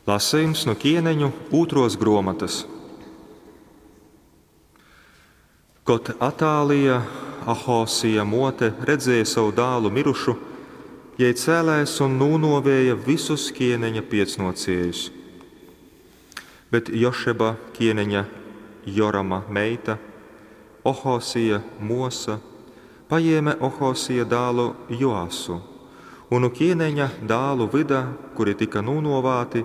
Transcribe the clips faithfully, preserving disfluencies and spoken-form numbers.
Lasejums nu Kieneņu ūtruos gruomotys. Kod Atālija, Ahosija muote, redzēja sovu dālu mirušu, jei cēlēs un nūnuovēja vysus kieneņa piecnuociejus. Bet Jošeba, kieneņa Jorama meita, Ohosija muosa, pajēme Ohosija dālu Joasu un nu kieneņa dālu vyda, kuri tyka nūnuovāti,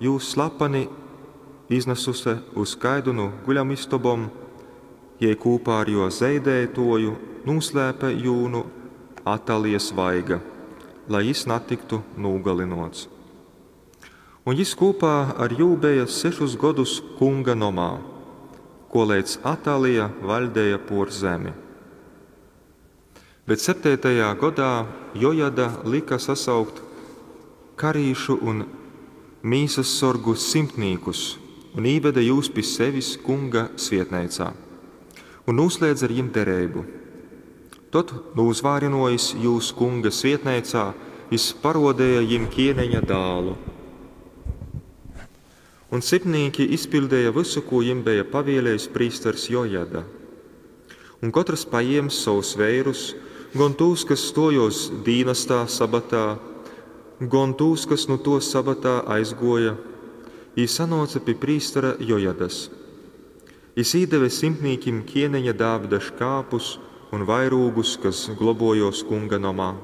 jū slapani iznasuse uz kaidu nu guļamistobom, jei kūpā ar juo zeideituoju nūslēpe jū nu Atalijas vaiga, lai jis natyktu nūgalynuots. Un jis kūpā ar jū beja sešus godus Kunga nomā, koleidz Atalija vaļdeja puor zemi. Bet septeitajā godā Jojada lyka sasaukt karīšu un mīsassorgu simtnīkus un īvede jūs pi sevis Kunga svietneicā un nūslēdze ar jim dereibu. Tod, nūzvārynuojis jūs Kunga svietneicā, jis paruodeja jim kieneņa dālu. Un simtnīki izpiļdeja vysu, kū jim beja pavielējis prīsters Jojada. Un kotrs pajiems sovus veirus, gon tūs, kas stuojuos dīnastā sabatā, gon tūs, kas nu tuo sabatā aizguoja, jī sanuoce pi prīstera Jojadas. Jis īdeve simtnīkim kieneņa Dāvida škāpus un vairūgus, kas globuojuos Kunga nomā.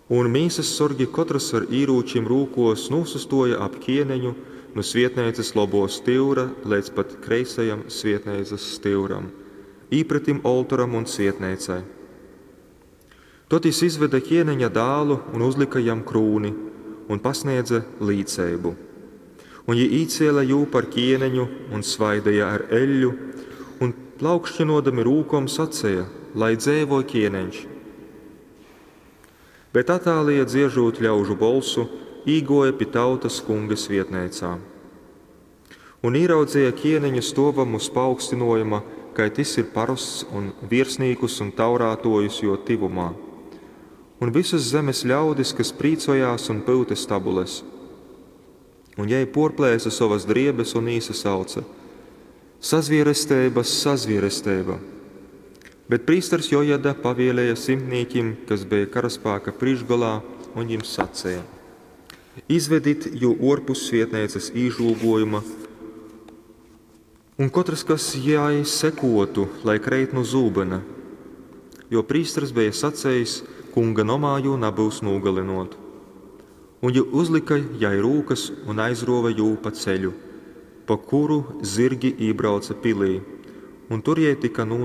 Un mīsassorgi kotrs ar īrūčim rūkuos nūsastuoja ap kieneņu nu svietneicys lobuo styura leidz pat kreisajam svietneicys styuram, īpretim oltoram un svietneicai. Tod jis izvede kieneņa dālu un uzlyka jam krūni un pasniedze līceibu. Un jī īcēle jū par kieneņu un svaideja ar eļļu, un plaukšķinuodami rūkom saceja: Lai dzeivoj kieneņš! Bet Atālija, dzieržūt ļaužu bolsu, īguoja pi tautys Kunga svietneicā. Un īraudzeja kieneņu stuovam uz paaugstynuojuma, kai tys ir parosts, un viersnīkus un taurātuojus juo tyvumā un vysus zemes ļaudis, kas prīcojās un pyute stabules. Un jei puorplēse sovas driebes un īsasauce: Sazvieresteiba, sazvieresteiba! Bet prīsters Jojada pavielēja simtnīkim, kas beja karaspāka prīškgolā, un jim saceja: Izvedit jū uorpus svietneicys īžūguojuma, un kotrs, kas jai sekuotu, lai kreit nu zūbyna. Jo prīsters beja sacejis: Kunga nomā jū nabyus nūgalynuot. Un jī uzlyka jai rūkas un aizruove jū pa ceļu, pa kuru zyrgi ībrauce pilī, un tur jei tyka nūnuovāta.